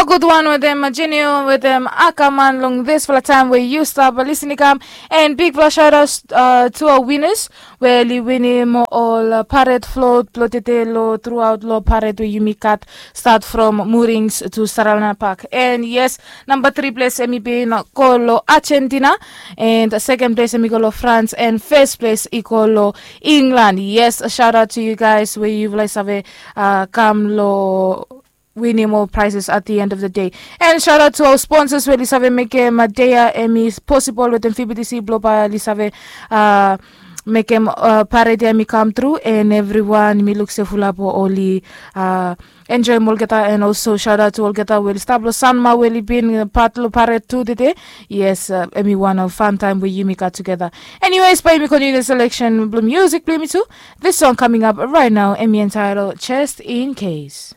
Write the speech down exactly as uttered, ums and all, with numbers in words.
Gud wan wetem jenio wetem akaman long disfala taem we yu stap lisin i kam. And bigfala shout out uh, to our winners we oli winim ol uh, paret flot blong tete lo thruaut lo paret we yumi gat start from murings to saralana park. And yes, namba tri ples em i bin go lo argentina. And seken ples em i go lo france and fes ples i go lo england. Yes, shout out to you guys we yufala i save uh, kam lo winim ol prizes at the end of the day. And shout out to our sponsors we oli save mekem uh, dea em i posibol wetem fibitisi blo bae oli save uh, mekem uh, paret ya em i kam tru. And evriwan mi luk se fulap oli uh, enjoem olgeta. And also shout out to olgeta we oli stap lo sanma we oli bin uh, pat lo paret tu tede. Yes, uh, em i wan of fun taem we yumi gat tugeta. Anyways, bae yumi kontinu selection blo music blo yumi tu. This song coming up right now em i entitled Just In Case.